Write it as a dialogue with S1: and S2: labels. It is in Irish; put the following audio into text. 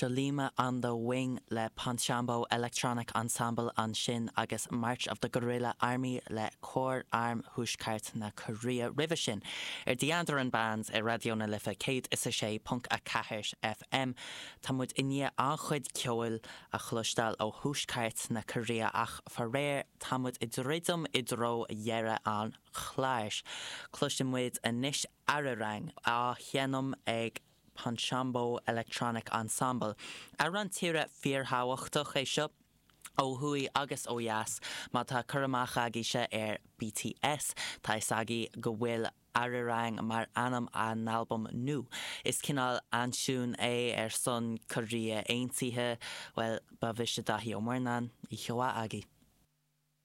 S1: Chollima on the Wing le Ponchambo Electronic Ensemble ansin agus March of the Guerrilla Army le Cór Arm Thuaisceart na Cóiréa roimhe sin. Ar The Andaran Band ar Raidió na Life 106.4 FM, tá muid i ndiaidh an-chuid ceoil a chloisteáil ó Thuaisceart na Cóiréa ach faraor tá muid ag druidim i dtreo dheireadh an chláir. Cloisfidh muid anois Arirang á sheinm ag Ponchambo Electronic Ensemble. Amhrán tíre fíorthábhachtach é seo, ó thuaidh agus ó dheas. Má tá cur amach agaibhse ar BTS, tá fhios agaibh go bhfuil Arirang mar ainm a n-albam nua. Is cineál aintiún é ar son Korea Aontaithe. Bhuel, ba mhise Daithí Ó Murnáin. Oíche mhaith agaibh.